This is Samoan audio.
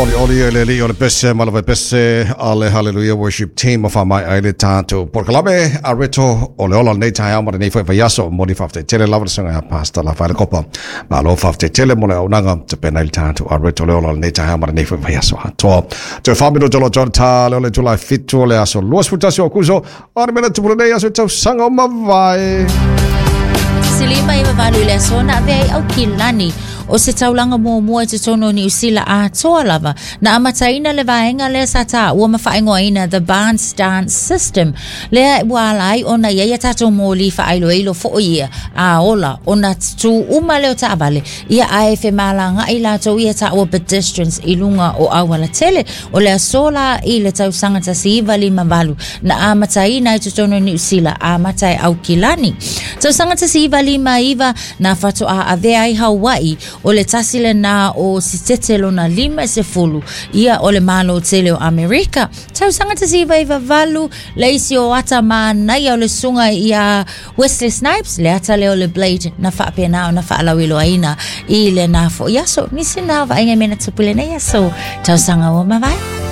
Olioli e le alii o le pese ma le vaipese a le Hallelujah Worship Team o faamaea ai le tatou polokalame a Reto o le ola o lenei taeao ma lenei foi vaiaso. Momoli faafetai tele lava le susuga ia Pastor Lafaele Kopa. Malo faafetai tele mo le auaunaga tapena ai le tatou a Reto o le ola o lenei taeao ma lenei foi vaiaso atoa. Toe 4 minute o lo o ta le o le itula e 7 o le aso 21 o Akuso o le mea na tupu lenei aso i tausaga o mavae. 158 i le aso na avea ai Aukilani o se taulaga muamua i totonu o Niu Sila atoa lava na amataina le vaega lea sa taua ma faaigoaina The Barnes Dance System lea ua ala ai ona i ai a tatou moli faailoilo foi ia a ola ona tū uma lea o taavale ia ae femalagaai latou ia taua pedestrians i luga o auala tele. O le aso la i le tausaga 1958 na amataina ai totonu o Niu Sila, amata e Aukilani. Tausaga 1959 na faatoa avea ai Hawaii o le tasi lena o sitete lona 50 ia o le Malo tele o Amerika. Tausaga 1998 le isi o ata manaia o le susuga ia Wesley Snipes, le ata lea o le Blade na faapena ona faalauiloaina i lena foi aso. Nisi na vaaiga i mea na tupu i lenei aso tausaga ua mavae.